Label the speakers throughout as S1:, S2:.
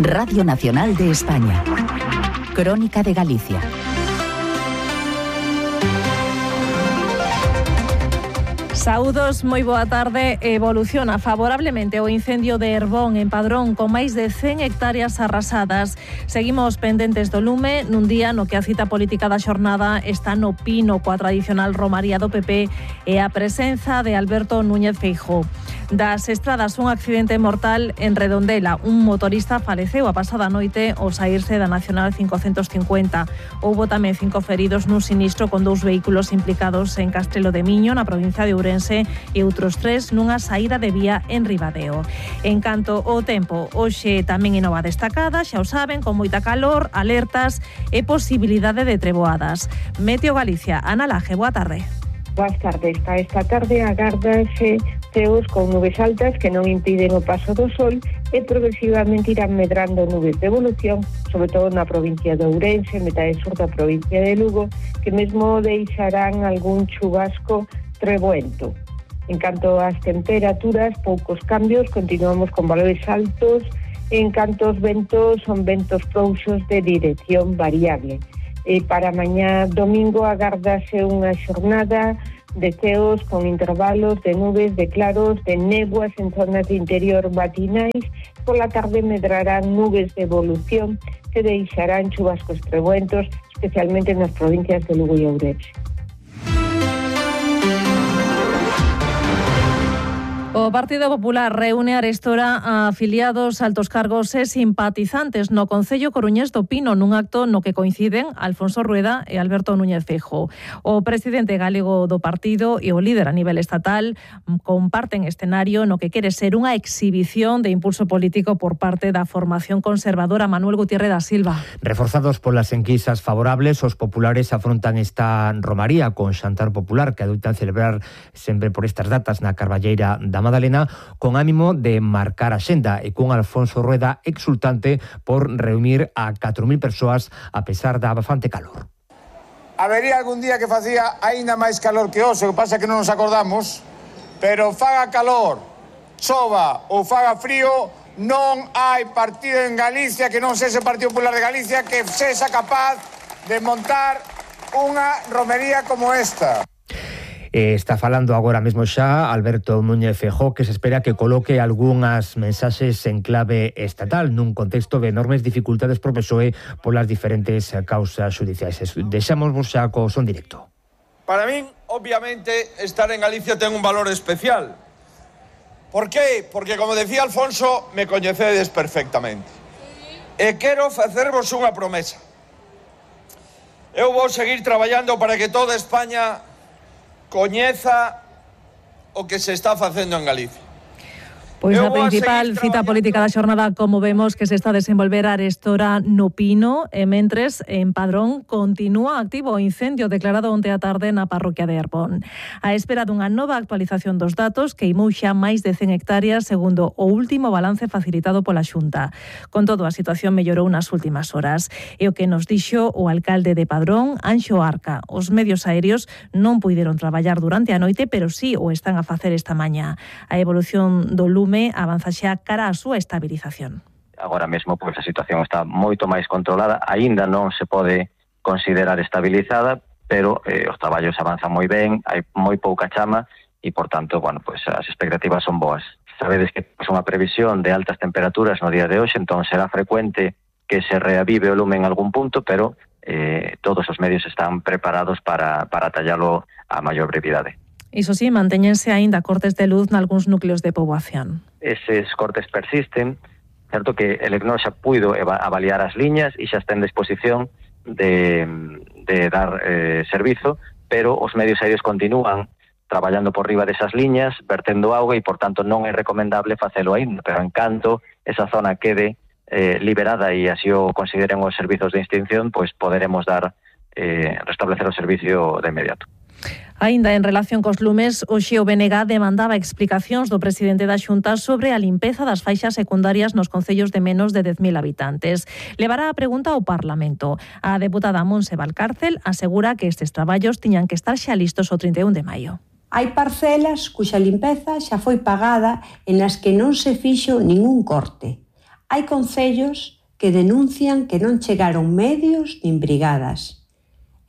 S1: Radio Nacional de España. Crónica de Galicia.
S2: Saúdos, moi boa tarde. Evoluciona favorablemente o incendio de Herbón en Padrón con máis de 100 hectáreas arrasadas. Seguimos pendentes do lume nun día no que a cita política da xornada está no pino coa tradicional romaría do PP e a presenza de Alberto Núñez Feijóo. Das estradas, un accidente mortal en Redondela. Un motorista faleceu a pasada noite ao saírse da Nacional 550. Houbo tamén 5 feridos nun sinistro con 2 vehículos implicados en Castrelo de Miño, na provincia de Ourense, e outros 3 nunha saída de vía en Ribadeo. En canto ao tempo, hoxe tamén é nova destacada, xa o saben, con moita calor, alertas e posibilidade de treboadas. Meteo Galicia, Ana Laje, boa tarde.
S3: Boas tardes. Esta tarde agárdase ceos con nubes altas que non impiden o paso do sol e progresivamente irán medrando nubes de evolución, sobre todo na provincia de Ourense, metade sur da provincia de Lugo, que mesmo deixarán algún chubasco treboento. En canto ás temperaturas, poucos cambios, continuamos con valores altos. En canto aos ventos, son ventos frouxos de dirección variable. Para mañá domingo agárdase unha xornada de ceos con intervalos de nubes, de claros, de néboas en zonas de interior matinais. Pola tarde medrarán nubes de evolución que deixarán chubascos treboentos, especialmente nas provincias de Lugo e Ourense.
S2: O Partido Popular reúne arestora a afiliados, altos cargos e simpatizantes no Concello coruñés do Pino nun acto no que coinciden Alfonso Rueda e Alberto Núñez Feijóo. O presidente galego do partido e o líder a nivel estatal comparten escenario no que quere ser unha exhibición de impulso político por parte da formación conservadora. Manuel Gutiérrez da Silva.
S4: Reforzados polas enquisas favorables, os populares afrontan esta romaría con xantar popular que adoitan celebrar sempre por estas datas na Carballeira da Madalena, con ánimo de marcar a xenda e con Alfonso Rueda exultante por reunir a 4.000 persoas a pesar da bastante calor.
S5: Habería algún día que facía aínda máis calor que hoxe, o que pasa que non nos acordamos, pero faga calor, chova ou faga frío, non hai partido en Galicia que non sexa o Partido Popular de Galicia que sexa capaz de montar unha romería como esta.
S4: Está falando agora mesmo xa Alberto Núñez Feijóo, que se espera que coloque algunhas mensaxes en clave estatal nun contexto de enormes dificultades pro PSOE polas diferentes causas judiciais. Deixamos vos xa co son directo.
S5: Para min, obviamente, estar en Galicia ten un valor especial. Por qué? Porque, como decía Alfonso, me coñecedes perfectamente. E quero facervos unha promesa. Eu vou seguir traballando para que toda España coñeza o que se está facendo en Galicia.
S2: Pois a principal cita política da xornada, como vemos, que se está a desenvolver arestora no Pino, e mentres en Padrón continúa activo o incendio declarado onte a tarde na parroquia de Herbón. A espera dunha nova actualización dos datos, queimou xa máis de 100 hectáreas segundo o último balance facilitado pola Xunta. Con todo, a situación mellorou nas últimas horas. E o que nos dixo o alcalde de Padrón, Anxo Arca: os medios aéreos non puideron traballar durante a noite, pero sí o están a facer esta mañá. A evolución do lume avanza xa cara á súa estabilización.
S6: Agora mesmo, pois, a situación está moito máis controlada, aínda non se pode considerar estabilizada, pero os traballos avanzan moi ben, hai moi pouca chama e, por tanto, bueno, pois as expectativas son boas. Sabedes que é unha previsión de altas temperaturas no día de hoxe, entón será frecuente que se reavive o lume en algún punto, pero todos os medios están preparados para tallalo a maior brevidade.
S2: Iso sí, mantéñense aínda cortes de luz nalgúns núcleos de poboación.
S6: Eses cortes persisten, certo que el ECNO xa puido avaliar as liñas e xa está en disposición de dar servizo, pero os medios aéreos continúan traballando por riba desas liñas, vertendo auga e, por tanto, non é recomendable facelo aínda, pero en canto esa zona quede liberada e así o consideren os servizos de extinción, pois poderemos restablecer o servicio de inmediato.
S2: Aínda en relación cos lumes, hoxe o BNG demandaba explicacións do presidente da Xunta sobre a limpeza das faixas secundarias nos concellos de menos de 10.000 habitantes. Levará a pregunta ao Parlamento. A deputada Montse Valcárcel asegura que estes traballos tiñan que estar xa listos o 31 de maio.
S7: Hai parcelas cuxa limpeza xa foi pagada e nas que non se fixo ningún corte. Hai concellos que denuncian que non chegaron medios nin brigadas.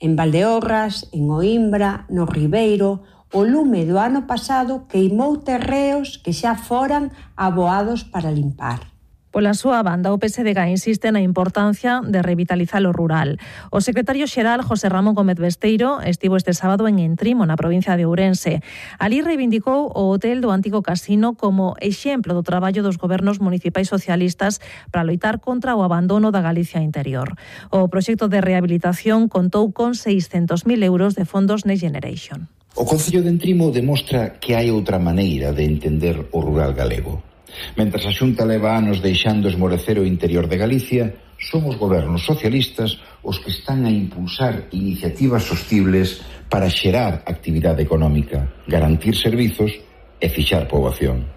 S7: En Valdeorras, en Oimbra, no Ribeiro, o lume do ano pasado queimou terreos que xa foran aboados para limpar.
S2: Pola súa banda, o PSDG insiste na importancia de revitalizar o rural. O secretario xeral José Ramón Gómez Besteiro estivo este sábado en Entrimo, na provincia de Ourense. Alí reivindicou o hotel do antigo casino como exemplo do traballo dos gobernos municipais socialistas para loitar contra o abandono da Galicia interior. O proxecto de rehabilitación contou con 600.000 euros de fondos Next Generation.
S8: O Concello de Entrimo demostra que hai outra maneira de entender o rural galego. Mentras a Xunta leva anos deixando esmorecer o interior de Galicia, son os gobernos socialistas os que están a impulsar iniciativas sostibles para xerar actividade económica, garantir servizos e fixar poboación.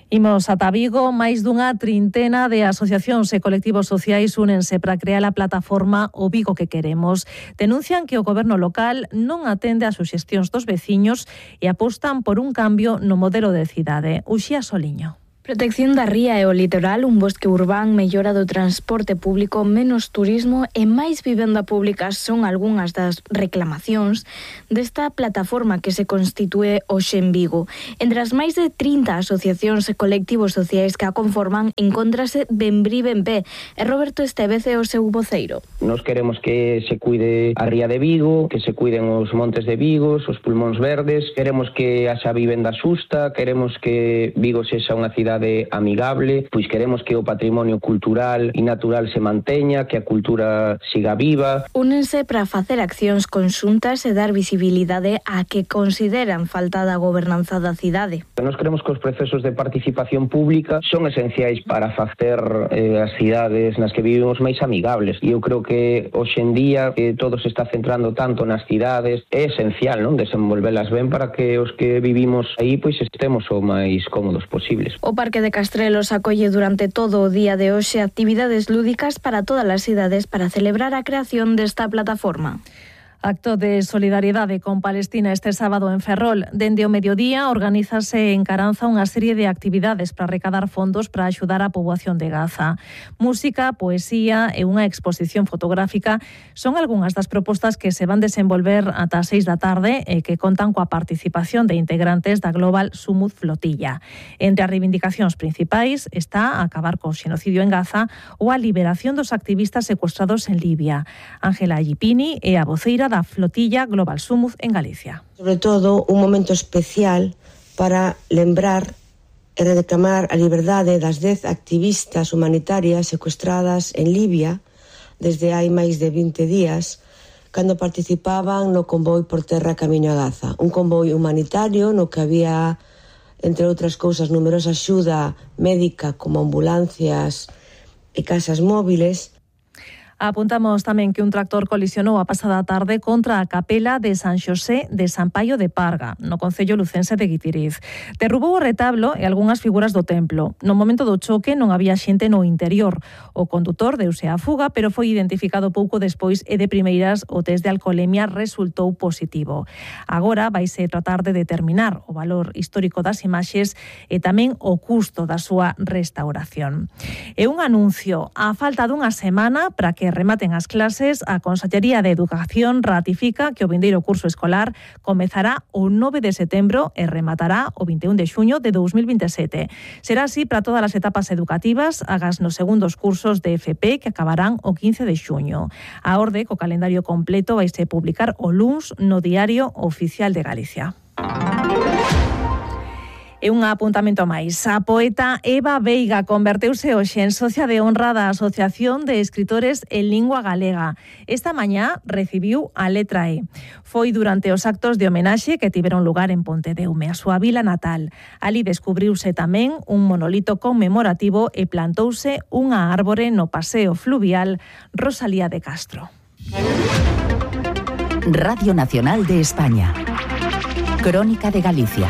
S2: Imos ata Vigo, máis dunha trintena de asociacións e colectivos sociais únense para crear a plataforma O Vigo que queremos. Denuncian que o goberno local non atende as suxestións dos veciños e apostan por un cambio no modelo de cidade. Uxía Soliño.
S9: Protección da ría e o litoral, un bosque urbán, mellora do transporte público, menos turismo e máis vivenda pública son algunhas das reclamacións desta plataforma que se constitúe hoxe en Vigo. Entre as máis de 30 asociacións e colectivos sociais que a conforman, encóntrase Benbrí Benpé e Roberto Estevez é o seu voceiro.
S10: Nos queremos que se cuide a ría de Vigo, que se cuiden os montes de Vigo, os pulmóns verdes, queremos que haxa vivenda xusta, queremos que Vigo sexa unha cidade amigable, pois queremos que o patrimonio cultural e natural se manteña, que a cultura siga viva.
S9: Únense para facer accións conxuntas e dar visibilidade a que consideran falta da gobernanza da cidade.
S10: Nos creemos que os procesos de participación pública son esenciais para facer as cidades nas que vivimos máis amigables. E eu creo que hoxe en día que todo se está centrando tanto nas cidades, é esencial, non, desenvolvelas ben para que os que vivimos aí pois estemos o máis cómodos posibles.
S9: O Parque de Castrelos acolle durante todo o día de hoxe actividades lúdicas para todas as cidades para celebrar a creación desta plataforma.
S2: Acto de solidariedade con Palestina este sábado en Ferrol. Dende o mediodía organízase en Caranza unha serie de actividades para recadar fondos para axudar a poboación de Gaza. Música, poesía e unha exposición fotográfica son algunhas das propostas que se van desenvolver ata as 6 da tarde e que contan coa participación de integrantes da Global Sumud Flotilla. Entre as reivindicacións principais está acabar co xenocidio en Gaza ou a liberación dos activistas secuestrados en Libia. Ángela Gipini é a voceira da Flotilla Global Sumud en Galicia.
S11: Sobre todo, un momento especial para lembrar e reclamar a liberdade das 10 activistas humanitarias secuestradas en Libia desde hai máis de 20 días, cando participaban no convoi por terra camiño a Gaza. Un convoi humanitario no que había, entre outras cousas, numerosa axuda médica como ambulancias e casas móviles.
S2: Apuntamos tamén que un tractor colisionou a pasada tarde contra a capela de San Xosé de San Paio de Parga, no concello lucense de Guitiriz. Derrubou o retablo e algunhas figuras do templo. No momento do choque non había xente no interior. O condutor deuse á fuga, pero foi identificado pouco despois e de primeiras o test de alcoholemia resultou positivo. Agora vaise tratar de determinar o valor histórico das imaxes e tamén o custo da súa restauración. E un anuncio, a falta dunha semana para que rematen as clases, a Consellería de Educación ratifica que o vindeiro curso escolar comezará o 9 de setembro e rematará o 21 de xuño de 2027. Será así para todas as etapas educativas, agas nos segundos cursos de FP que acabarán o 15 de xuño. A orde co calendario completo vaise publicar o luns no Diario Oficial de Galicia. E un apuntamento máis. A poeta Eva Veiga converteuse hoxe en socia de honra da Asociación de Escritores en Lingua Galega. Esta mañá recibiu a letra E. Foi durante os actos de homenaxe que tiveron lugar en Pontedeume, a súa vila natal. Ali descubriuse tamén un monolito conmemorativo e plantouse unha árbore no paseo fluvial Rosalía de Castro.
S1: Radio Nacional de España. Crónica de Galicia.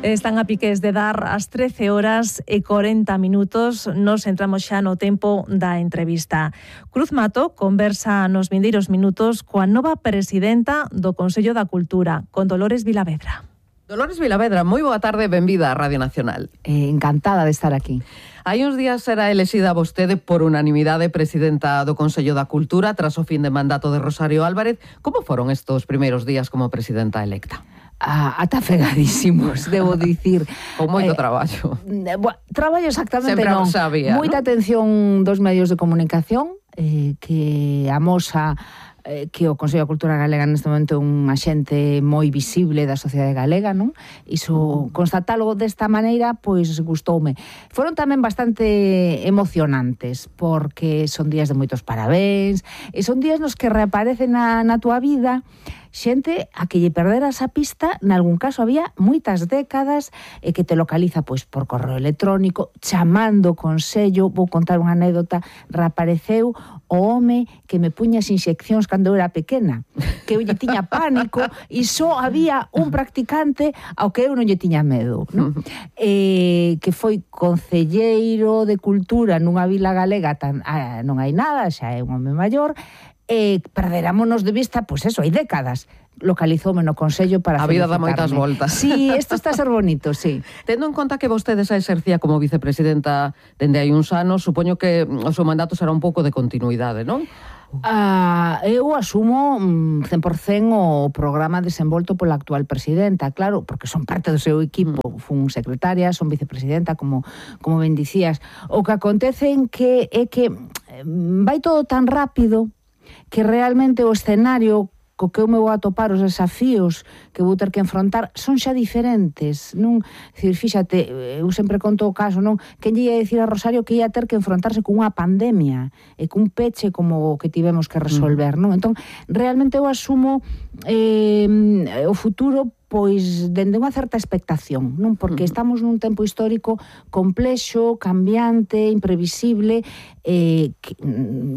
S2: Están a piques de dar as 13 horas e 40 minutos. Nos entramos xa no tempo da entrevista. Cruz Mato conversa nos vindeiros minutos coa nova presidenta do Consello da Cultura, con Dolores Vilavedra.
S12: Dolores Vilavedra, moi boa tarde, benvida á Radio Nacional.
S13: Encantada de estar aquí.
S12: Hai uns días era elexida vostede por unanimidade presidenta do Consello da Cultura tras o fin de mandato de Rosario Álvarez. Como foron estos primeiros días como presidenta electa?
S13: Atafegadísimos, debo dicir.
S12: Con moito traballo.
S13: Traballo exactamente
S12: sempre
S13: non.
S12: Sabía,
S13: moita atención dos medios de comunicación, que amosa que o Consello da Cultura Galega neste momento é un axente moi visible da sociedade galega, non? Iso, constatalo desta maneira, pois gustoume. Foron tamén bastante emocionantes, porque son días de moitos parabéns, e son días nos que reaparece na túa vida xente a que lle perderas a pista, nalgún caso había moitas décadas, e que te localiza pois por correo electrónico, chamando o Consello. Vou contar unha anécdota. Reapareceu o home que me puña as inxeccións cando eu era pequena, que eu lle tiña pánico, e só había un practicante ao que eu non lle tiña medo, non? Que foi concelleiro de Cultura nunha vila galega, non hai nada, xa é un home maior, perderámonos de vista, pois eso, hai décadas. Localizoume no Consello para
S12: a vida dá moitas voltas.
S13: Sí, isto está a ser bonito, sí.
S12: Tendo en conta que vostede xa exercía como vicepresidenta dende hai uns anos, supoño que o seu mandato será un pouco de continuidade, non?
S13: Eu asumo 100% o programa desenvolto pola actual presidenta, claro, porque son parte do seu equipo. Fun secretaria, son vicepresidenta, como ben dicías. O que acontece é que vai todo tan rápido que realmente o escenario co que eu me vou atopar, os desafíos que vou ter que enfrontar son xa diferentes, non? Dicir, fíxate, eu sempre conto o caso, non? Quen lle ia dicir a Rosario que ia ter que enfrontarse cunha pandemia e cun peche como o que tivemos que resolver, non? Entón, realmente eu asumo o futuro pois dende unha certa expectación, non? Porque estamos nun tempo histórico complexo, cambiante, imprevisible, que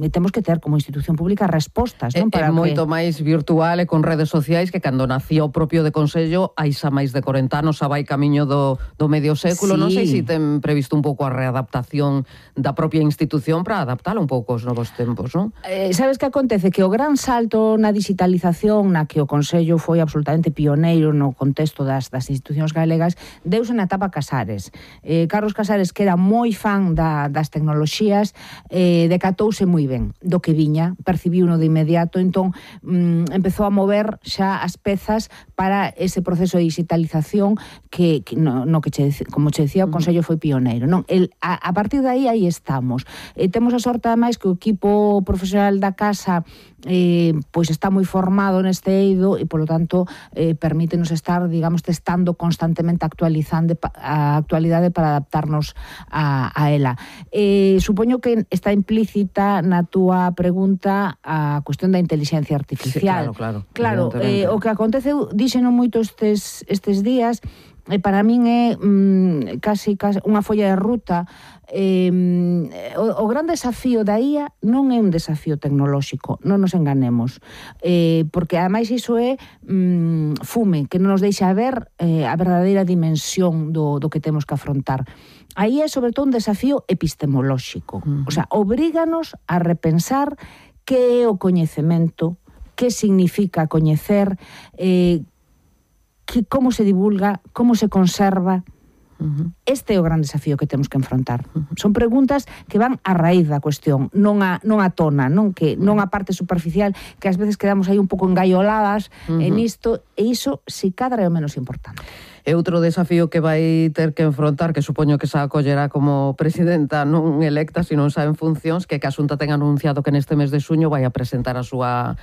S13: temos que ter como institución pública respostas, non?
S12: É moito máis virtual e con redes sociais que cando nacía o propio de Consello hai xa máis de 40 anos, xa vai camiño do medio século. Sí. Non sei se ten previsto un pouco a readaptación da propia institución para adaptala un pouco aos novos tempos, non?
S13: Sabes que acontece? Que o gran salto na digitalización na que o Consello foi absolutamente pioneiro no contexto das institucións galegas deuse na etapa Casares. Carlos Casares, que era moi fan das tecnoloxías, decatouse moi ben do que viña, percibiuno de inmediato, entón empezou a mover xa as pezas para ese proceso de digitalización que como che decía, o Consello foi pioneiro, non? A partir de aí estamos. Temos a sorte, ademais, que o equipo profesional da casa pois está moi formado neste eido e, polo tanto, permítenos estar, digamos, testando constantemente, actualizando a actualidade para adaptarnos a ela. Supoño que está implícita na túa pregunta a cuestión da inteligencia artificial.
S12: Sí, claro.
S13: Claro, o que acontece, díxeno moito estes días, para min é casi unha folla de ruta. O gran desafío da IA non é un desafío tecnolóxico, non nos enganemos, porque ademais iso é fume, que non nos deixa ver a verdadeira dimensión do que temos que afrontar. Aí é sobre todo un desafío epistemolóxico, o sea, obríganos a repensar que é o coñecemento, que significa coñecer, como se divulga, como se conserva. Este é o gran desafío que temos que enfrontar. Son preguntas que van a raíz da cuestión, non a tona, non a parte superficial, que ás veces quedamos aí un pouco engaioladas en isto, e iso, si cadra, é o menos importante.
S12: E outro desafío que vai ter que enfrontar, que supoño que xa acollerá como presidenta non electa, sino xa en funcións, que a Xunta ten anunciado que neste mes de xuño vai a presentar a súa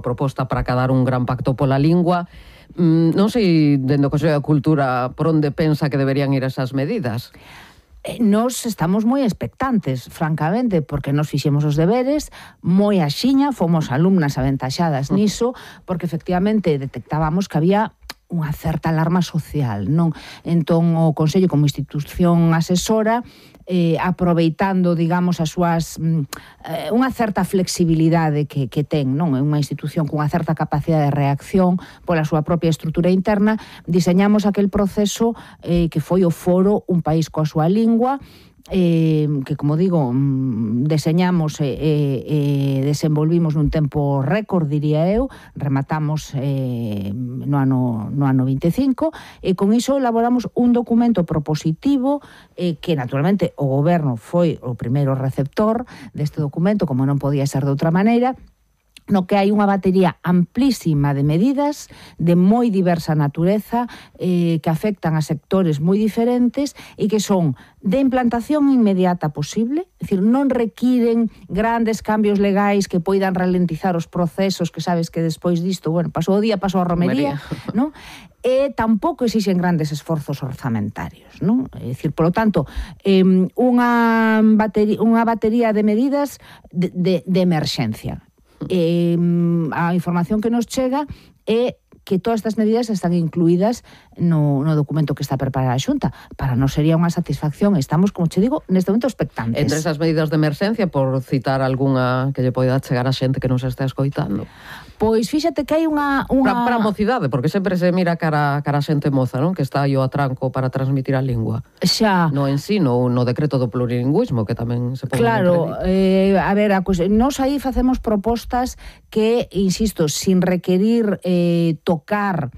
S12: proposta para acadar un gran pacto pola lingua. Non sei, dende o Consello da Cultura, por onde pensa que deberían ir esas medidas?
S13: Nos estamos moi expectantes, francamente, porque nos fixemos os deberes moi axiña, fomos alumnas aventaxadas niso, porque efectivamente detectábamos que había unha certa alarma social, non? Entón, o Consello, como institución asesora, aproveitando, digamos, as súas unha certa flexibilidade que ten, non? É unha institución cunha certa capacidade de reacción pola súa propia estrutura interna, diseñamos aquel proceso que foi o foro Un País coa súa lingua, que, como digo, deseñamos e desenvolvimos nun tempo récord, diría eu, rematamos no ano 25, e con iso elaboramos un documento propositivo que, naturalmente, o Goberno foi o primeiro receptor deste documento, como non podía ser de outra maneira, no que hai unha batería amplísima de medidas de moi diversa natureza que afectan a sectores moi diferentes e que son de implantación inmediata posible, é dicir, non requiren grandes cambios legais que poidan ralentizar os procesos, que sabes que despois disto, bueno, pasou o día, pasou a romería, non? E tampouco exixen grandes esforzos orzamentarios, non? É dicir, polo tanto, unha batería de medidas de emerxencia. A información que nos chega é que todas estas medidas están incluídas no documento que está preparada a Xunta. Para nós sería unha satisfacción. Estamos, como che digo, neste momento expectantes.
S12: Entre esas medidas de emerxencia, por citar algunha que lle poida chegar a xente que nos está escoitando.
S13: Pois fíxate que hai unha...
S12: Para a mocidade, porque sempre se mira cara a xente moza, non? Que está aí o atranco para transmitir a lingua.
S13: Xa.
S12: No ensino, no decreto do plurilingüismo, que tamén se pode...
S13: Claro, a ver, nós aí facemos propostas que, insisto, sin requerir tocar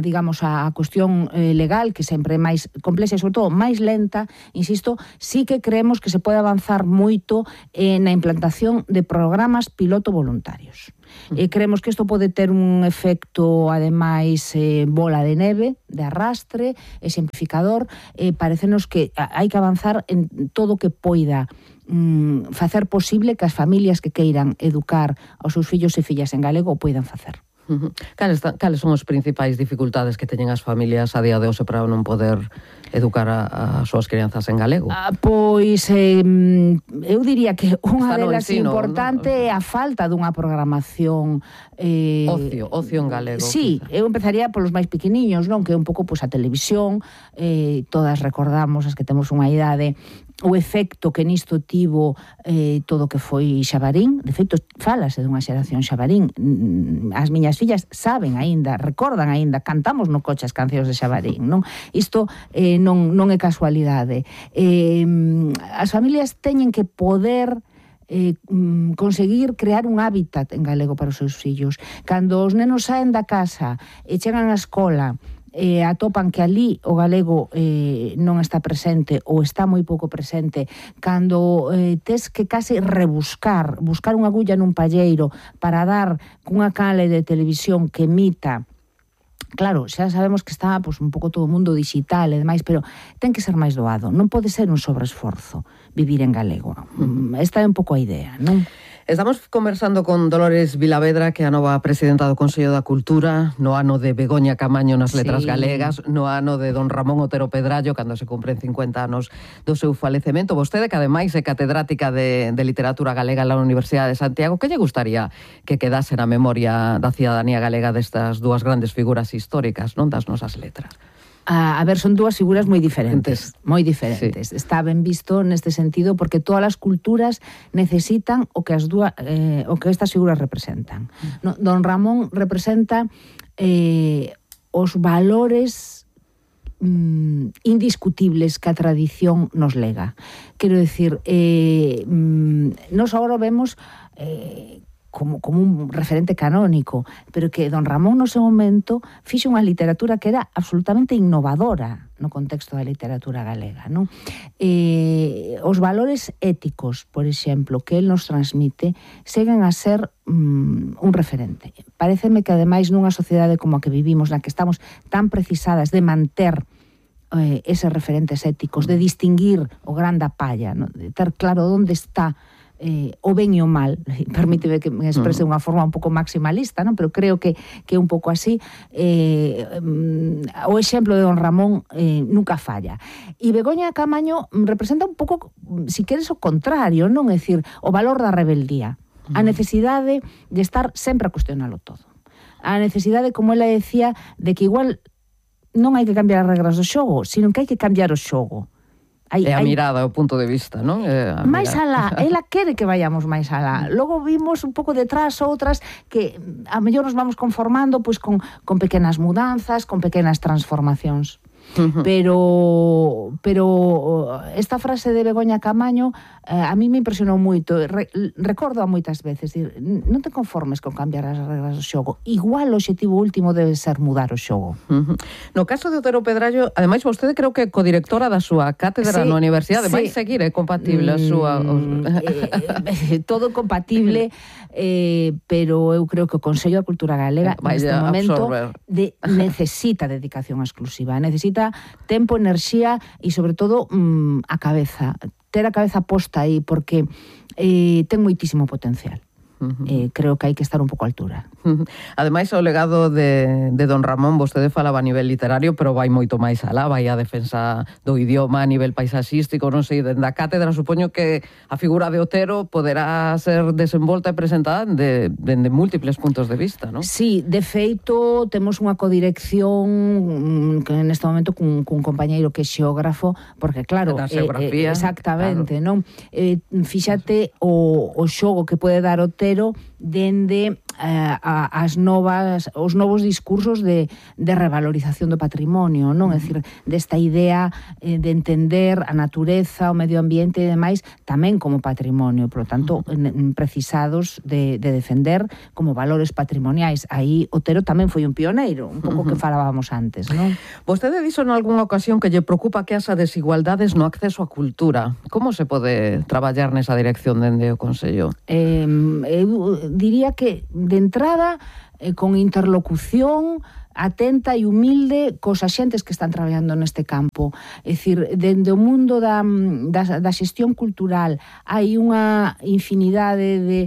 S13: digamos, a cuestión legal, que sempre é máis complexa e, sobre todo, máis lenta, insisto, sí que creemos que se pode avanzar moito na implantación de programas piloto voluntarios. Creemos que isto pode ter un efecto, ademais, bola de neve, de arrastre, exemplificador. Parecenos que hai que avanzar en todo o que poida facer posible que as familias que queiran educar aos seus fillos e fillas en galego o poidan facer.
S12: Cales son as principais dificultades que teñen as familias a día de hoxe para non poder educar as súas crianzas en galego?
S13: Pois eu diría que unha delas importante é a falta dunha programación
S12: ocio en galego.
S13: Sí, eu empezaría polos máis pequeniños, non? Que é un pouco a televisión, todas recordamos, as que temos unha idade, o efecto que nisto tivo todo o que foi Xabarín. De feito, falase dunha xeración Xabarín. As miñas fillas saben aínda, recordan aínda, cantamos no coche as cancións de Xabarín, non? Isto non é casualidade. As familias teñen que poder conseguir crear un hábitat en galego para os seus fillos. Cando os nenos saen da casa e chegan á escola atopan que ali o galego non está presente ou está moi pouco presente, cando tes que case buscar unha agulla nun palleiro para dar cunha canle de televisión que emita. Claro, xa sabemos que está un pouco todo o mundo digital e demais, pero ten que ser máis doado. Non pode ser un sobreesforzo vivir en galego. Esta é un pouco a idea, non?
S12: Estamos conversando con Dolores Vilavedra, que é a nova presidenta do Consello da Cultura, no ano de Begoña Camaño nas letras galegas, no ano de don Ramón Otero Pedrallo, cando se cumpren 50 anos do seu falecemento. Vostede, que ademais é catedrática de literatura galega na Universidade de Santiago, que lle gustaría que quedase na memoria da cidadanía galega destas dúas grandes figuras históricas, non, das nosas letras?
S13: A ver, son dúas figuras moi diferentes. Sí. Está ben visto neste sentido, porque todas as culturas necesitan o que estas figuras representan. Don Ramón representa os valores indiscutibles que a tradición nos lega. Quero dicir, nos agora vemos como un referente canónico, pero que don Ramón no seu momento fixo unha literatura que era absolutamente innovadora no contexto da literatura galega, non? Os valores éticos, por exemplo, que el nos transmite, seguen a ser un referente. Paréceme que, ademais, nunha sociedade como a que vivimos, na que estamos tan precisadas de manter eses referentes éticos, de distinguir o gran da palla, non? De ter claro onde está o ben e o mal, permíteme que me exprese de unha forma un pouco maximalista, non? Pero creo que é un pouco así. O exemplo de don Ramón nunca falla. E Begoña Camaño representa un pouco, si queres, o contrario, non? É dicir, o valor da rebeldía, a necesidade de estar sempre a cuestionalo todo, a necesidade, como ela decía, de que igual non hai que cambiar as regras do xogo, sino que hai que cambiar o xogo.
S12: É a mirada, o punto de vista, non?
S13: Máis alá, ela quere que vayamos máis alá. Logo vimos un pouco detrás outras que a mellor nos vamos conformando pois con pequenas mudanzas, con pequenas transformacións. Pero esta frase de Begoña Camaño a mí me impresionou moito. Recordo a moitas veces, non te conformes con cambiar as regras do xogo. Igual o obxectivo último debe ser mudar o xogo.
S12: No caso de Otero Pedrallo, ademais vostede creo que codirectora da súa cátedra na universidade, vai seguir, é compatible a súa...
S13: Todo compatible, pero eu creo que o Consello da Cultura Galega neste momento necesita dedicación exclusiva, necesita tempo, enerxía e sobre todo a cabeza, ter a cabeza posta aí, porque ten moitísimo potencial. Creo que hai que estar un pouco a altura.
S12: Ademais, o legado de don Ramón, vostede falaba a nivel literario, pero vai moito máis alá, vai a defensa do idioma a nivel paisaxístico, non sei, dende a cátedra, supoño que a figura de Otero poderá ser desenvolta e presentada dende múltiples puntos de vista, non?
S13: Sí, de feito, temos unha codirección que neste momento cun compañeiro que é xeógrafo, porque claro, exactamente, claro. Non? Fíxate o xogo que pode dar Otero dende os novos discursos de revalorización do patrimonio, non? É dicir, desta idea de entender a natureza, o medio ambiente e demais tamén como patrimonio, por lo tanto, precisados de defender como valores patrimoniais. Aí Otero tamén foi un pioneiro, un pouco que falábamos antes, non?
S12: Vostede dixo en algunha ocasión que lle preocupa que as desigualdades no acceso á cultura. Como se pode traballar nesa dirección dende o Consello?
S13: Eu diría que de entrada con interlocución atenta e humilde cos axentes que están traballando neste campo. É dicir, dende o mundo da xestión cultural hai unha infinidade de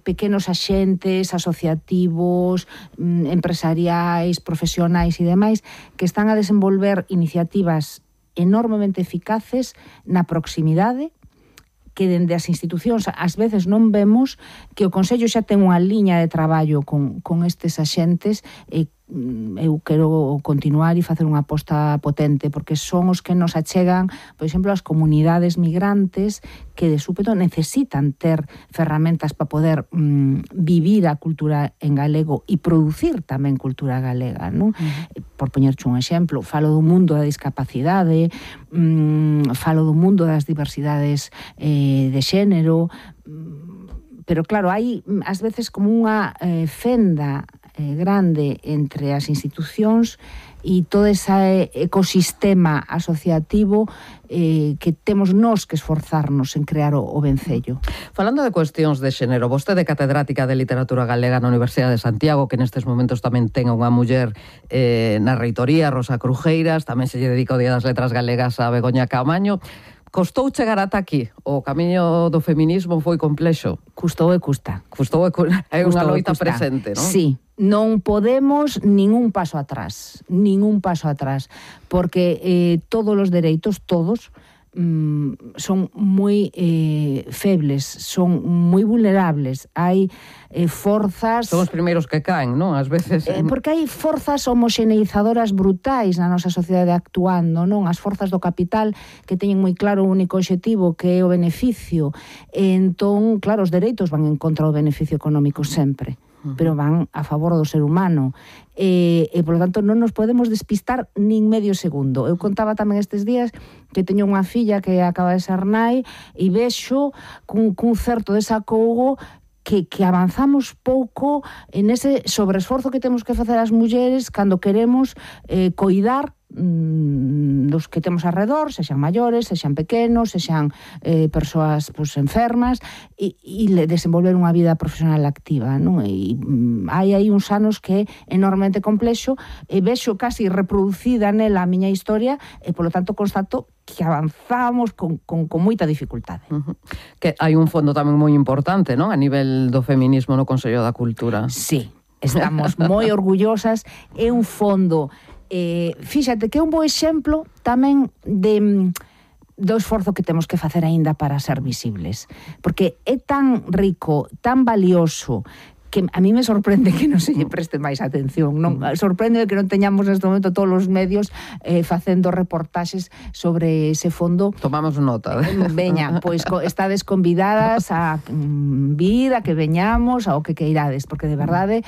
S13: pequenos axentes asociativos, empresariais, profesionais e demais que están a desenvolver iniciativas enormemente eficaces na proximidade, que dende as institucións ás veces non vemos, que o Consello xa ten unha liña de traballo con estes axentes. Eu quero continuar e facer unha aposta potente, porque son os que nos achegan, por exemplo, as comunidades migrantes que de súpeto necesitan ter ferramentas para poder vivir a cultura en galego e producir tamén cultura galega, non? Por poñerche un exemplo, falo do mundo da discapacidade, falo do mundo das diversidades de xénero, pero claro, hai ás veces como unha fenda grande entre as institucións e todo ese ecosistema asociativo que temos nós que esforzarnos en crear o vencello.
S12: Falando de cuestións de xénero, vostede catedrática de literatura galega na Universidade de Santiago, que nestes momentos tamén ten unha muller na reitoría, Rosa Crujeiras, tamén se lle dedica o Día das Letras Galegas a Begoña Camaño. Costou chegar ata aquí? O camiño do feminismo foi complexo?
S13: Custou e custa.
S12: É unha loita presente, non?
S13: Sí. Non podemos ningún paso atrás, porque todos os dereitos, todos, son moi febles, son moi vulnerables. Hai forzas...
S12: Son os primeiros que caen, non? Ás veces...
S13: Porque hai forzas homoxeneizadoras brutais na nosa sociedade actuando, non? As forzas do capital que teñen moi claro o único obxectivo que é o beneficio. Entón, claro, os dereitos van en contra do beneficio económico sempre, pero van a favor do ser humano. E, por lo tanto, non nos podemos despistar nin medio segundo. Eu contaba tamén estes días que teño unha filla que acaba de ser nai e vexo cun certo desacougo que avanzamos pouco en ese sobreesforzo que temos que facer as mulleres cando queremos coidar dos que temos alrededor, sexan maiores, sexan pequenos, sexan persoas enfermas e desenvolver unha vida profesional activa, non? E hai aí uns anos que é enormemente complexo e vexo casi reproducida nela a miña historia e, polo tanto, constato que avanzamos con moita dificultade.
S12: Que hai un fondo tamén moi importante, non? A nivel do feminismo no Consello da Cultura.
S13: Sí, estamos moi orgullosas. É un fondo... fíxate que é un bo exemplo tamén do esforzo que temos que facer aínda para ser visibles, porque é tan rico, tan valioso, que a mí me sorprende que non se lle preste máis atención. Non? Sorprende que non teñamos neste momento todos os medios facendo reportaxes sobre ese fondo.
S12: Tomamos nota.
S13: Veña, pois estades convidadas a vir, a que veñamos, ao que queirades, porque de verdade,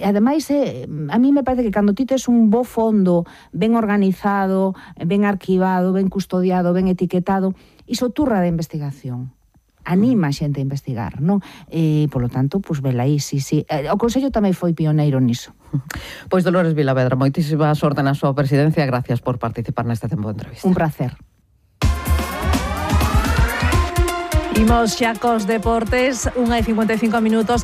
S13: ademais, a mí me parece que cando ti tes un bo fondo, ben organizado, ben arquivado, ben custodiado, ben etiquetado, iso turra de investigación. Anima a xente a investigar, non? Por lo tanto, pois velaí, sí. O Consello tamén foi pioneiro niso.
S12: Pois Dolores Vilavedra, moitísima sorte na súa presidencia, gracias por participar neste tempo de entrevista.
S13: Un placer.
S2: Imos xa cos deportes, 1:55.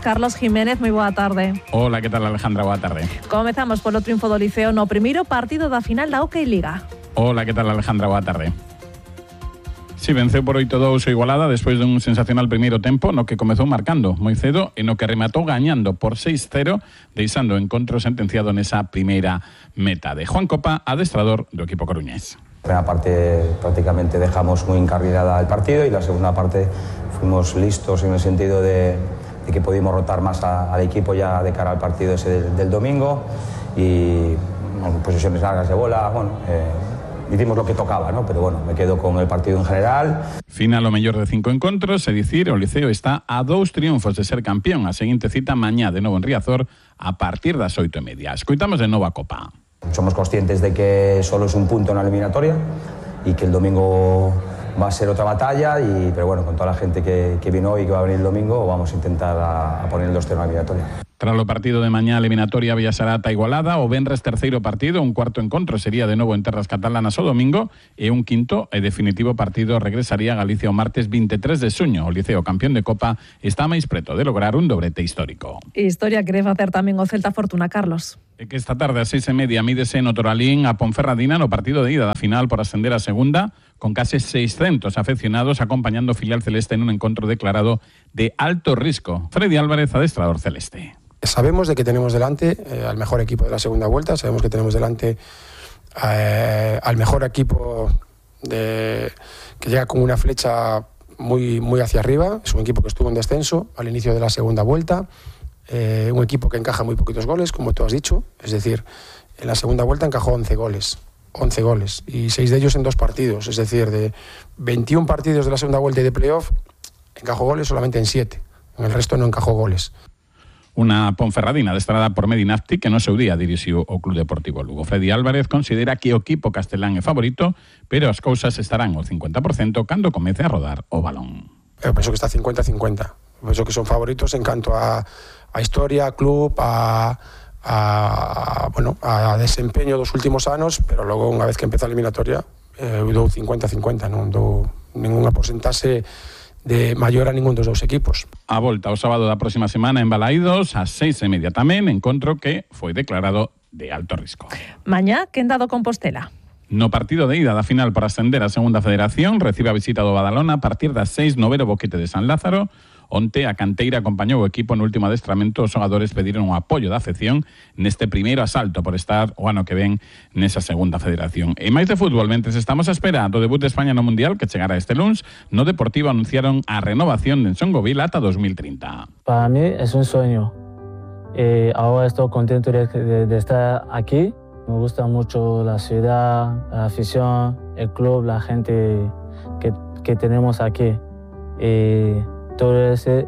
S2: Carlos Jiménez, moi boa tarde.
S14: Hola, que tal, Alejandra? Boa tarde.
S2: Comezamos polo triunfo do Liceo no primeiro partido da final da Hockey Liga.
S14: Hola, que tal, Alejandra? Boa tarde. Si, venceu por 8-2 o Igualada despois dun sensacional primeiro tempo no que comezou marcando moi cedo e no que rematou gañando por 6-0, deixando o encontro sentenciado nesa primeira metade. Juan Copa, adestrador do equipo coruñés.
S15: La primera parte prácticamente dejamos muy encarrilada el partido y la segunda parte fuimos listos en el sentido de que pudimos rotar más al equipo ya de cara al partido ese del domingo y bueno, posesiones largas de bola, hicimos lo que tocaba, ¿no? Pero bueno, me quedo con el partido en general.
S14: Final o mellor de 5 encontros, é dicir, o Liceo está a 2 triunfos de ser campeón. A seguinte cita mañá de novo en Riazor a partir das 8:30. Escoitamos de novo a Copa.
S15: Somos conscientes de que solo es un punto en la eliminatoria y que el domingo va a ser otra batalla, pero bueno, con toda la gente que vino hoy y que va a venir el domingo, vamos a intentar a poner el 2-0 en la eliminatoria.
S14: Tras o partido de mañá eliminatoria Villasarata Igualada, o venres terceiro partido, un cuarto encontro sería de novo en terras catalanas o domingo e un quinto e definitivo partido regresaría a Galicia o martes 23 de xuño. O Liceo campeón de Copa está máis preto de lograr un dobrete histórico.
S2: Historia quere facer tamén o Celta Fortuna, Carlos.
S14: E que esta tarde a 6:30 mídese no Toralín a Ponferradina no partido de ida da final por ascender a segunda, con case 600 afeccionados acompañando o filial celeste en un encontro declarado de alto risco. Freddy Álvarez, adestrador celeste.
S16: Sabemos de que tenemos delante al mejor equipo de la segunda vuelta, sabemos que tenemos delante al mejor equipo que llega con una flecha muy hacia arriba. Es un equipo que estuvo en descenso al inicio de la segunda vuelta, un equipo que encaja muy poquitos goles, como tú has dicho, es decir, en la segunda vuelta encajó 11 goles y 6 de ellos en 2 partidos, es decir, de 21 partidos de la segunda vuelta y de playoff encajó goles solamente en 7, en el resto no encajó goles.
S14: Una Ponferradina adestrada por Medinafti que no seu día dirixiu o Club Deportivo Lugo. Freddy Álvarez considera que o equipo castelán é favorito, pero as cousas estarán ao 50% cando comece a rodar o balón.
S16: Eu penso que está 50-50. Penso que son favoritos en canto a historia, a club, a desempeño dos últimos anos, pero logo unha vez que empeza a eliminatoria eu dou 50-50, non dou ninguna porcentaxe de maior a ningún dos dous equipos.
S14: A volta o sábado da próxima semana en Balaídos, ás 6:30 tamén, encontro que foi declarado de alto risco.
S2: Mañá, quenda do Compostela.
S14: No partido de ida da final para ascender a segunda federación, recibe a visita do Badalona a partir das 6 no Vero Boquete de San Lázaro. Onte a canteira acompañou o equipo no último adestramento, os xogadores pediron o apoio da afección neste primeiro asalto por estar o ano que ven nesa segunda federación. E máis de fútbol, mentres estamos a espera do debut de España no Mundial que chegará este luns, no Deportivo anunciaron a renovación de Ensongovil ata 2030.
S17: Para mí es un sueño. Ahora estoy contento de estar aquí. Me gusta mucho la ciudad, la afición, el club, la gente que tenemos aquí. Todo eso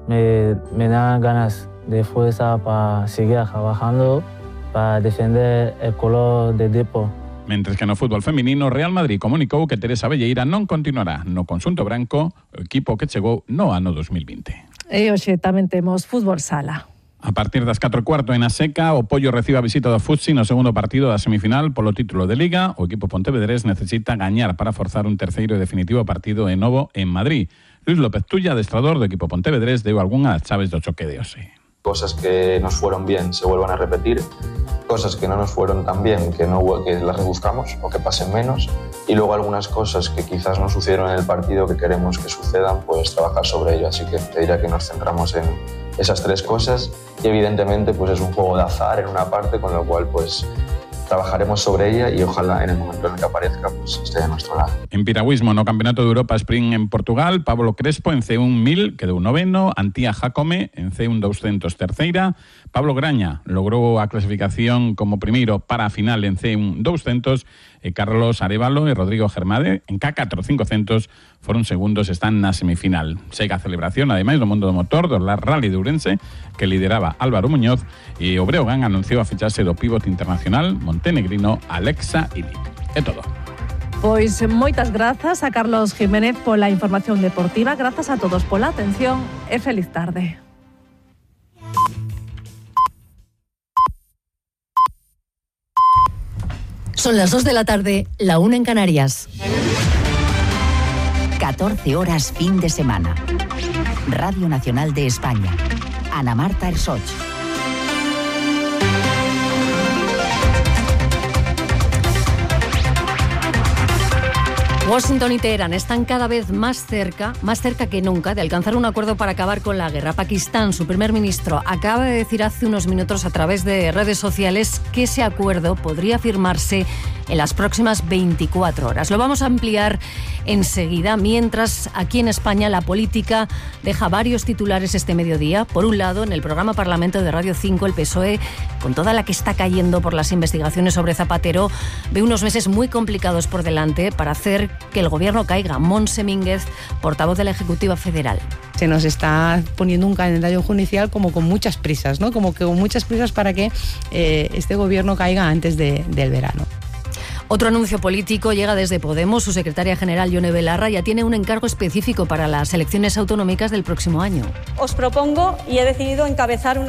S17: me da ganas de fuerza para seguir trabajando, para defender el color del Depor.
S14: Mentres que no fútbol feminino, Real Madrid comunicou que Teresa Velleira non continuará no conxunto branco, o equipo que chegou no ano 2020.
S2: E hoxe tamén temos fútbol sala.
S14: A partir das 4:15 en a Seca, o Pollo recibe a visita do Futsi no segundo partido da semifinal polo título de Liga. O equipo pontevedrés necesita gañar para forzar un terceiro e definitivo partido de novo en Madrid. Luis López Tulla, adestrador do equipo pontevedrés, deu algunhas chaves do choque de hoxe.
S18: Cosas que nos fueron bien se vuelvan a repetir, cosas que no nos fueron tan bien que las rebuscamos o que pasen menos, y luego algunas cosas que quizás no sucedieron en el partido que queremos que sucedan, pues trabajar sobre ello. Así que te diría que nos centramos en esas 3 cosas y evidentemente pues es un juego de azar en una parte, con lo cual pues trabajaremos sobre ella y ojalá en el momento en el que aparezca pues esté de nuestro lado.
S14: En piragüismo, no Campeonato de Europa Sprint en Portugal, Pablo Crespo en C1 1000 quedou noveno, Antía Jacome en C1 200 terceira, Pablo Graña logrou a clasificación como primeiro para a final en C1 200 e Carlos Arévalo e Rodrigo Germade en K4 500 foron segundos, están na semifinal. Segue a celebración, ademais, do mundo do motor do Rally de Ourense, que lideraba Álvaro Muñoz, e o Breogán anunciou a fichaxe do pivote internacional montenegrino Alexa Ilic. É todo.
S2: Pois moitas grazas a Carlos Jiménez pola información deportiva, grazas a todos pola atención e feliz tarde.
S1: Son las 2 de la tarde, la 1 en Canarias. 14 horas fin de semana. Radio Nacional de España. Ana Marta Ersoch.
S19: Washington y Teherán están cada vez más cerca que nunca, de alcanzar un acuerdo para acabar con la guerra. Pakistán, su primer ministro, acaba de decir hace unos minutos a través de redes sociales que ese acuerdo podría firmarse en las próximas 24 horas. Lo vamos a ampliar enseguida, mientras aquí en España la política deja varios titulares este mediodía. Por un lado, en el programa Parlamento de Radio 5, el PSOE, con toda la que está cayendo por las investigaciones sobre Zapatero, ve unos meses muy complicados por delante para hacer que el gobierno caiga. Montse Mínguez, portavoz de la Ejecutiva Federal.
S20: Se nos está poniendo un calendario judicial como con muchas prisas, ¿no? Como que con muchas prisas para que este gobierno caiga antes del verano.
S19: Otro anuncio político llega desde Podemos. Su secretaria general, Yone Belarra, ya tiene un encargo específico para las elecciones autonómicas del próximo año.
S21: Os propongo y he decidido encabezar una